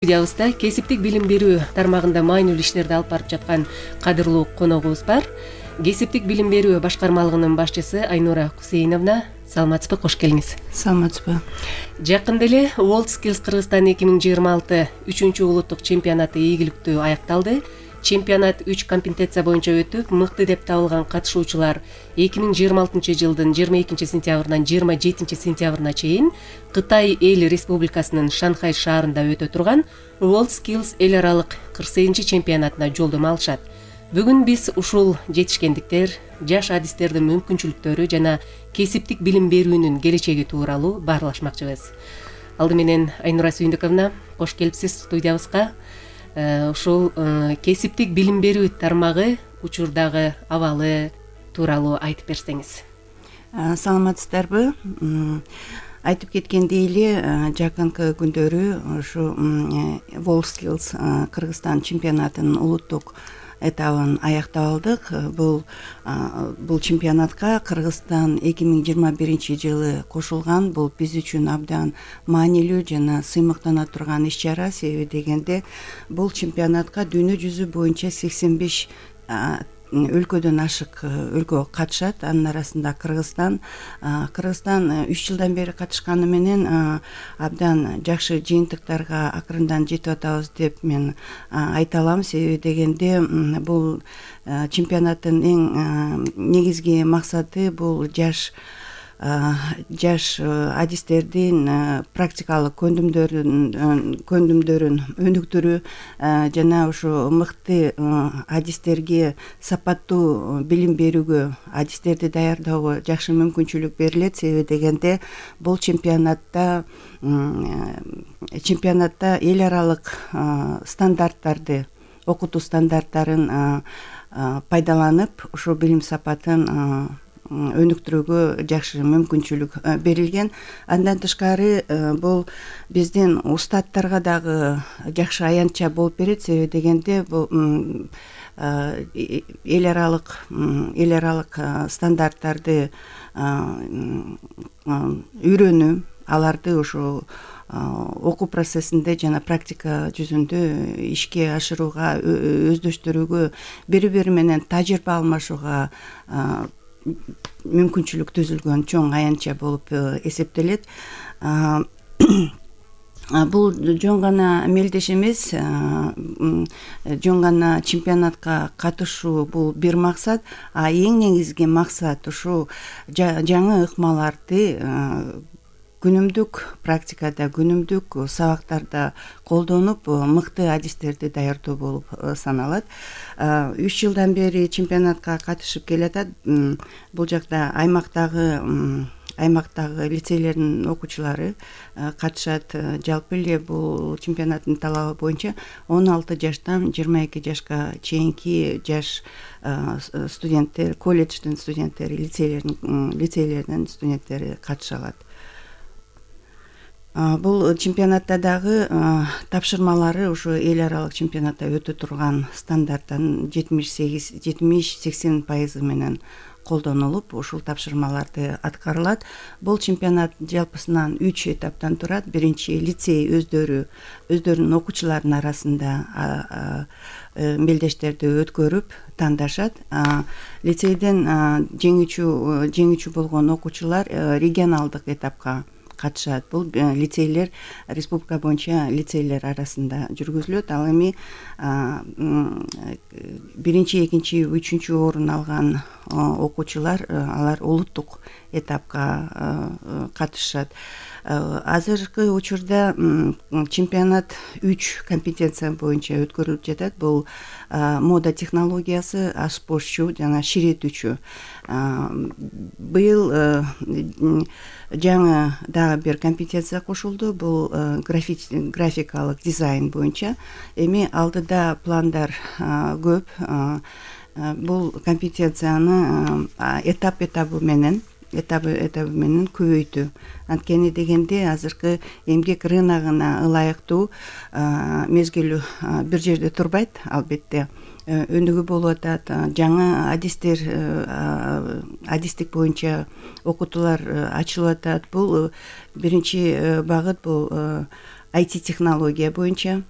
Студиябызда кесиптик билим берүү тармагында маанилүү иштерди алып барып жаткан кадырлуу коногубуз бар. Кесиптик билим берүү башкармалыгынын башчысы Айнура Кусейновна. Саламатсызбы, кош келиңиз. Саламатсызбы. Жакында эле WorldSkills Кыргызстан 2026 3-чү улуттук чемпионаты ийгиликтүү аякталды. Чемпионат 3 компетенция боюнча өтүп, мыкты деп табылган катышуучулар 2026 жылдын 22 сентябрынан 27 сентябрына чейин Кытай эл республикасынын Шанхай шаарында өтө турган WorldSkills эл аралык 48 чемпионатына жолдомо алышат. Бүгүн биз ушул жетишкендиктер, жаш адистердин мүмкүнчүлүктөрү жана кесиптик билим берүүнүн келечеги тууралуу баарлашмакчыбыз. Алды менен Айнура Сүйүндүковна, кош келипсиз студиябызга. Ушул кесиптик билим берүү тармагы учурдагы абалы тууралуу айтып берсеңиз. Саламатсыздарбы? Айтып кеткендей эле, жакынкы күндөрү ушу WorldSkills Кыргызстан чемпионатынын улуттук этабын аяктап алдык. Бул чемпионатка Кыргызстан 2021 жылы кошулган. Бул биз үчүн абдан маанилүү жана сыймыктана турган иш чара. Себеби дегенде бул чемпионатка дүйнө жүзү боюнча 85 өлкөдөн ашык өлкө катышат. Анын арасында Кыргызстан 3 жылдан бери катышканы менен абдан жакшы жыйынтыктарга акырындан жетип атабыз деп мен айта алам. Себеби дегенде бул чемпионаттын эң негизги максаты бул жаш адистердин практикалык көндүмдөрүн өнүктүрүү жана ушу мыкты адистерге сапаттуу билим берүүгө, адистерди даярдөөгө жакшы мүмкүнчүлүк берилет. Себеби дегенде бул чемпионатта эл аралык стандарттарды, окутуу стандарттарын пайдаланып, ушул билим сапатын өнүктүрүүгө жакшы мүмкүнчүлүк берилген. Андан тышкары бул биздин устаттарга дагы жакшы аянтча болуп берет. Себеби дегенде бул эл аралык стандарттарды үйрөнүү, аларды ушу окуу процессинде жана практика жүзүндө ишке ашырууга, өздөштүрүүгө, бири менен тажрыйба алмашууга мүмкүнчүлүк түзүлгөн чоң аянтча болуп эсептелет. Бул жөн гана мелдеш эмес, жөн гана чемпионатка катышуу бул бир максат, а эң негизги максат ушу жаңы ыкмаларды күнүмдүк практикада, күнүмдүк сабактарда колдонуп, мыкты адистерди даярдоо болуп саналат. 3 жылдан бери чемпионатка катышып келатат. Бул жакта аймактагы лицейлердин окуучулары катышат. Жалпы эле бул чемпионаттын талабы боюнча 16 жаштан 22 жашка чейинки жаш студенттер, колледждин студенттери, лицейлердин студенттери катыша алат. Бул чемпионатта дагы тапшырмалары ушу эл аралык чемпионатта өтө турган стандарттан 70-80% менен колдонулуп, ушул тапшырмаларды аткарылат. Бул чемпионат жалпысынан 3 этаптан турат. Биринчи лицей өздөрүнүн окуучуларынын арасында мелдештерди өткөрүп тандашат. Лицейден жеңүүчү болгон окуучулар регионалдык этапка катышат. Бул лицейлер республика боюнча лицейлер арасында жүргүзүлөт. Ал эми биринчи, экинчи, үчүнчү орун алган окуучулар алар улуттук этапка катышат. Азыркы учурда чемпионат 3 компетенция боюнча өткөрүлүп жатат. Бул мода технологиясы, ашпозчу жана ширетүүчү. Быйыл жаңы дагы бир компетенция кошулду. Бул графикалык дизайн боюнча. Эми алдыда пландар көп. Бул компетенцияны этабы менен көбөйтүү. Анткени дегенде азыркы эмгек рыногуна ылайыктуу мезгил бир жерде турбайт, албетте. Өнүгүү болуп атат. Жаңы адистик боюнча окутуулар ачылып атат. Бул биринчи багыт, бул IT технология боюнча